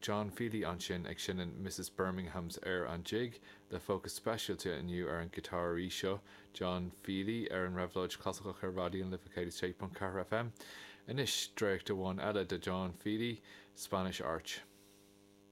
John Feely ansin ag seinm Mrs Birmingham's Air an Jig le fócas speisialta inniu ar an ghiotáraí seo, John Feely, ar an Réabhlóid Chlasaiceach ar Raidió na Life 106.4 FM. Anois, dréacht amháin eile de John Feely, Spanish Arch.